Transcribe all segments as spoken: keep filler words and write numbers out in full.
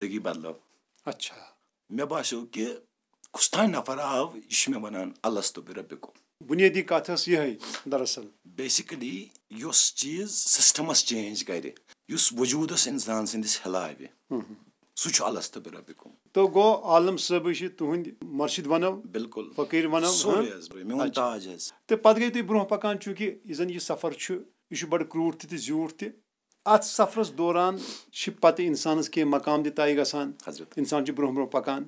زندگی بدلٲو۔ اچھا۔ مےٚ باسیو کہِ کُس تام نفر آو، یہِ چھُ مےٚ وَنان الستُ بربکم۔ بُنیٲدی کَتھ ٲس یِہے دراصل۔ بیسکلی یُس چیٖز سسٹمس چینج کرِ، یُس وجوٗدس انسان سٕنٛدِس ہلاوِ، ہم۔ سُہ چھُ الستُ بربکم۔ تو گوٚو عالم صٲبٕے چھِ تُہٕنٛدۍ مرشد ونو، بالکل۔ فقیٖر ونو، سورُے ہاں؟ حظ، میون اچھا۔ تاج حظ۔ تہٕ پتہٕ گٔے تُہۍ برونٛہہ پکان، چوٗنٛکہِ یہِ زن یہِ سفر چھُ، یہِ چھُ بڑٕ کرٛوٗٹھ تہِ تہٕ زیوٗٹھ تہِ۔ اتھ سفرس دوران چھِ پتہٕ انسانس کینٛہہ مقام تہِ طے گژھان۔ حضرت۔ انسان چھُ برونٛہہ برونٛہہ پکان۔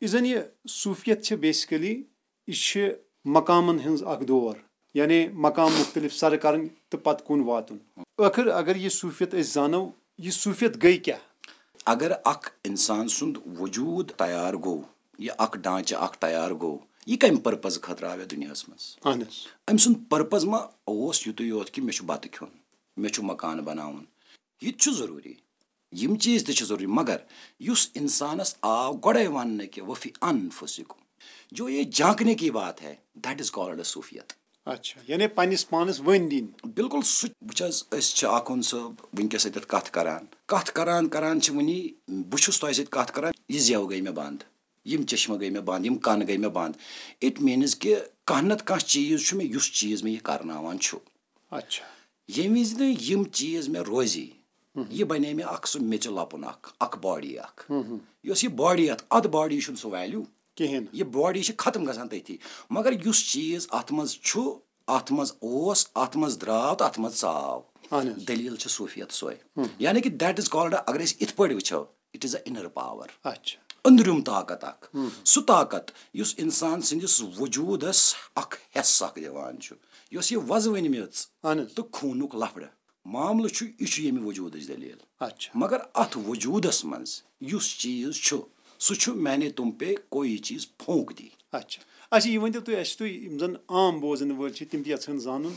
یہِ زن یہِ صوٗفیت چھِ بیسکلی، یہِ چھِ مقامن ہٕنٛز اکھ دور، یعنی مقام مختلف سرٕ کرٕنۍ تہٕ پتہٕ کُن واتُن۔ ٲخر اگر یہِ صوٗفیت أسۍ زانو، یہِ صوٗفیت گٔے کیٛاہ؟ اگر اکھ انسان سُنٛد وجوٗد تیار گوٚو، یہِ اکھ ڈھانچہٕ اکھ تیار گوٚو، یہِ کمہِ پرپز خٲطرٕ آو یتھ دُنیاہس منٛز؟ اہن حظ۔ أمۍ سُنٛد پرپز ما اوس یُتُے یوت کہِ مےٚ چھُ بتہٕ کھیوٚن، مےٚ چھُ مکان بناوُن؟ یہِ تہِ چھُ ضروٗری، یِم چیٖز تہِ چھِ ضروٗری، مگر یُس انسانس آو گۄڈے وننہٕ کہِ وفی انفسکم، جو یہ جھانکنے کی بات ہے، that is called صوفیت۔ اچھا، یعنی پننِس پانس ؤنۍ دِنۍ۔ بالکل سُہ وٕچھ حظ، أسۍ چھِ آخوند صٲب وٕنکیٚس أتٮ۪تھ کتھ کران، کتھ کران کران چھِ وٕنی، بہٕ چھُس تۄہہِ سۭتۍ کتھ کران، یہِ زٮ۪و گٔے مےٚ بنٛد، یِم چشمہٕ گٔے مےٚ بنٛد، یِم کن گٔے مےٚ بنٛد۔ It means کہِ کانٛہہ نتہٕ کانٛہہ چیٖز چھُ مےٚ، یُس چیٖز مےٚ یہِ کرناوان چھُ۔ اچھا۔ ییٚمہِ وِزِ نہٕ یِم چیٖز مےٚ روزی، ہم۔ یہِ بنے مےٚ اکھ سُہ میٚژِ لۄپُن اکھ، اکھ باڈی اکھ۔ ہم، ہم۔ یۄس یہِ باڈی اتھ، اتھ باڈی چھُنہٕ سُہ ویلیو۔ کِہیٖنۍ نہٕ۔ یہِ باڈی چھِ ختم گژھان تٔتھی، مگر یُس چیٖز اتھ منٛز چھُ، اتھ منٛز اوس، اتھ منٛز درٛاو تہٕ اتھ منٛز ژاو۔ اہن حظ۔ دٔلیٖل چھِ صوفیت سۄے۔ ہم۔ یعنی کہِ that is called، اگر أسۍ یِتھ پٲٹھۍ وٕچھو، it is a inner power۔ اچھا۔ أنٛدرِم طاقت اکھ۔ ہم۔ سُہ طاقت یُس انسان سٕنٛدِس وجوٗدس اکھ حصہٕ اکھ دِوان چھُ، یۄس یہِ وۄزوٕنۍ میٚژ اہن حظ۔ تہٕ خوٗنُک لفڑٕ معاملہٕ چھُ، یہِ چھُ ییٚمہِ وجوٗدٕچ دٔلیٖل۔ اچھا۔ مگر اتھ وجوٗدس منٛز یُس چیٖز چھُ، سُہ چھُ میں نے تم پہ کوئی چیز پھونک دی۔ اچھا۔ اچھا، یہِ ؤنۍ تو تُہۍ اَسہِ، تُہۍ یِم زَن عام بوزَن وٲلۍ چھِ، تِم تہِ یَژھن زانُن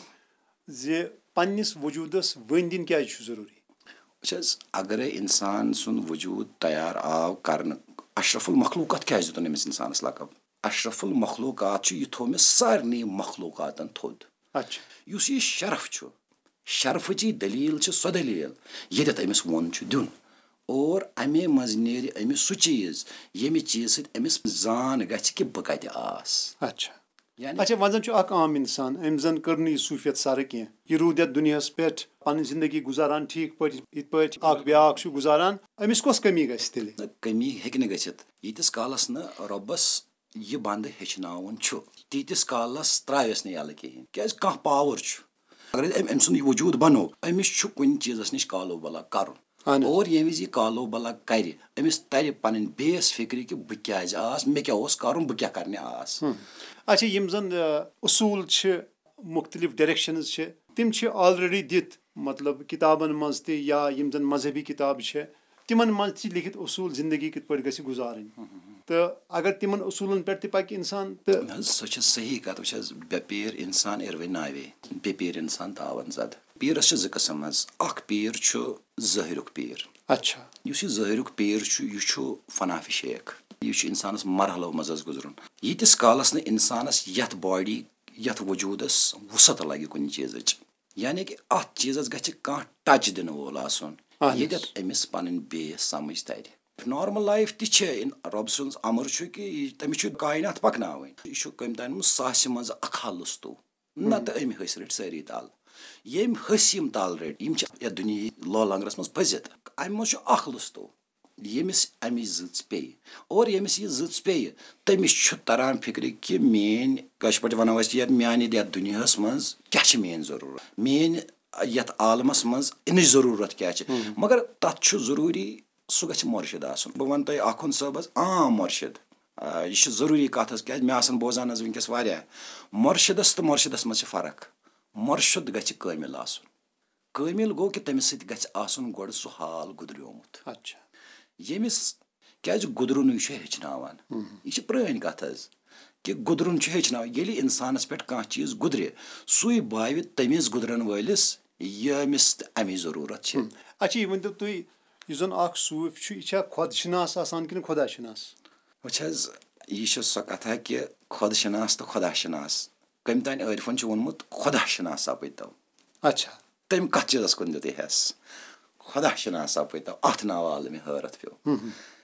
زِ پنٛنِس وجوٗدَس ؤنۍ دِنۍ کیٛازِ چھُ ضروٗری؟ وٕچھ حظ، اگرے انسان سُنٛد وجوٗد تیار آو کرنہٕ، اشرف المخلوقات کیٛازِ دیُتُن أمِس انسانس لقب؟ اشرف المخلوقات چھُ، یہِ تھوٚو مےٚ سارنٕے مخلوقاتن تھوٚد۔ اچھا۔ یُس یہِ شرف چھُ، شرفٕچی دٔلیٖل چھِ سۄ دٔلیٖل، ییٚتٮ۪تھ أمِس ووٚن چھُ دیُن۔ اور اَمے منٛز نیرِ أمِس سُہ چیٖز، ییٚمہِ چیٖز سۭتۍ أمِس زان گژھِ کہِ بہٕ کَتہِ آس۔ اچھا۔ یعنی اچھا، وۄنۍ زَن چھُ اکھ عام اِنسان، أمۍ زَن کٔر نہٕ یہِ صوٗفیت سَرٕ کینٛہہ۔ یہِ روٗد یَتھ دُنیاہَس پٮ۪ٹھ پَنٕنۍ زِندگی گُزاران ٹھیٖک پٲٹھۍ، یِتھ پٲٹھۍ اکھ بیٛاکھ چھُ گُزاران، أمِس کۄس کٔمی گژھِ تیٚلہِ؟ نہ، کٔمی ہیٚکہِ نہٕ گٔژھِتھ، ییٖتِس کالَس نہٕ رۄبَس یہِ بنٛدٕ ہیٚچھناوُن چھُ، تیٖتِس کالَس ترٛاوٮ۪س نہٕ یَلہٕ کِہیٖنۍ۔ کیٛازِ کانٛہہ پاور چھُ۔ اگر أمۍ، أمۍ سُنٛد یہِ وجوٗد بنوو، أمِس چھُ کُنہِ چیٖزَس نِش کالو بلا کَرُن۔ اہن حظ۔ اور ییٚمہِ وِزِ یہِ کالو بلا کَرِ، أمِس تَرِ پَنٕنۍ بیس فِکرِ کہِ بہٕ کیٛازِ آس، مےٚ کیٛاہ اوس کَرُن، بہٕ کیٛاہ کَرنہِ آس۔ ہم۔ اچھا، یِم زَن، آ، اصوٗل چھِ، مُختلف ڈایریکشنز چھِ، تِم چھِ آلریڈی دِتھ، مطلب، کِتابَن منٛز تہِ یا یِم زَن مذہبی کِتابہٕ چھِ، تِمَن منٛز تہِ چھِ لیکھِتھ اصوٗل زِندگی کِتھ پٲٹھۍ گژھِ گُزارٕنۍ۔ تہٕ اگر تِمَن اصوٗلَن پٮ۪ٹھ تہِ پَکہِ اِنسان تہٕ نہ حظ، سۄ چھِ صحیح کَتھ۔ وٕچھ حظ، بے پیر اِنسان اِروٕنۍ ناوے، بے پیر اِنسان تاوَن زد۔ پیٖرَس چھِ زٕ قٕسٕم حظ۔ اَکھ پیٖر چھُ ظٲہِرُک پیٖر۔ اچھا۔ یُس یہِ ظٲہِرُک پیٖر چھُ، یہِ چھُ فنا فی شیخ۔ یہِ چھُ اِنسانَس مرحلو منٛز حظ گُزرُن۔ ییٖتِس کالَس نہٕ اِنسانَس یَتھ باڈی، یَتھ وجوٗدَس وُسعت لَگہِ کُنہِ چیٖزٕچ، یعنی کہِ اَتھ چیٖزَس گژھِ کانٛہہ ٹچ دِنہٕ وول آسُن، اہن حظ۔ ییٚتٮ۪تھ أمِس پَنٕنۍ بیس سَمٕجھ تَرِ۔ نارمل لایف تہِ چھِ، رۄب سُنٛد امر چھُ کہِ یہِ، تٔمِس چھُ کاینات پَکناوٕنۍ۔ یہِ چھُ کٔمۍ تانۍ مُت ساسہِ منٛز اکھ ہا لُستو، نَتہٕ أمۍ ۂسۍ رٔٹۍ سٲری تَل۔ ییٚمۍ ۂسۍ یِم تَل رٔٹۍ، یِم چھِ یَتھ دُنیاہٕچ لولنگرس منٛز پھٔسِتھ۔ اَمہِ منٛز چھُ اکھ لُستو، ییٚمِس اَمِچ زٕژ پیٚیہِ۔ اور ییٚمِس یہِ زٕژ پیٚیہِ، تٔمِس چھُ تران فِکرِ کہِ میٲنۍ، کٲشِر پٲٹھۍ وَنو أسۍ، یَتھ میانہِ یَتھ دُنیاہَس منٛز کیٛاہ چھِ میٲنۍ ضروٗرت، میٲنۍ یَتھ عالمس منٛز اِنٕچ ضروٗرت کیٛاہ چھِ۔ ہم۔ مگر تَتھ چھُ ضروٗری سُہ گژھِ مُرشِد آسُن۔ بہٕ وَنہٕ تۄہہِ آخُنٛد صٲب حظ، عام مُرشِد۔ آ، یہِ چھُ ضروٗری کَتھ حظ، کیٛازِ مےٚ آسَن بوزان حظ وٕنکیٚس واریاہ۔ مُرشِدَس تہٕ مُرشِدَس منٛز چھِ فرق۔ مُرشِد گژھِ کٲمِل آسُن۔ کٲمِل گوٚو کہِ تٔمِس سۭتۍ گژھِ آسُن گۄڈٕ سُہ حال گُزریومُت۔ اچھا۔ ییٚمِس، کیٛازِ گُزرُنٕے چھُ ہیٚچھناوان۔ ہم۔ یہِ چھِ پرٛٲنۍ کَتھ حظ، کہِ گُزرُن چھُ ہیٚچھناوان۔ ییٚلہِ اِنسانَس پٮ۪ٹھ کانٛہہ چیٖز گُزرِ، سُے باوِ تٔمِس گُزرَن وٲلِس، ییٚمِس تہِ اَمِچ ضروٗرت چھِ۔ ہم۔ اچھا، یہِ ؤنۍ تو تُہۍ، یُس زَن اکھ صوٗفۍ چھُ، یہِ چھا خۄد شِناس آسان کِنہٕ خۄدا شِناس؟ وٕچھ حظ، یہِ چھِ سۄ کَتھا کہِ خۄد شِناس تہٕ خۄدا شِناس۔ کٔمۍ تانۍ عٲرفَن چھُ ووٚنمُت، خۄدا شِناس سَپٕدۍ تو۔ اچھا۔ تٔمۍ کَتھ چیٖزَس کُن دیُت یہِ حٮ۪س؟ خۄدا شِناس سپٕدۍ تو، اَتھ ناوٕ آو مےٚ حٲرتھ پیوٚو۔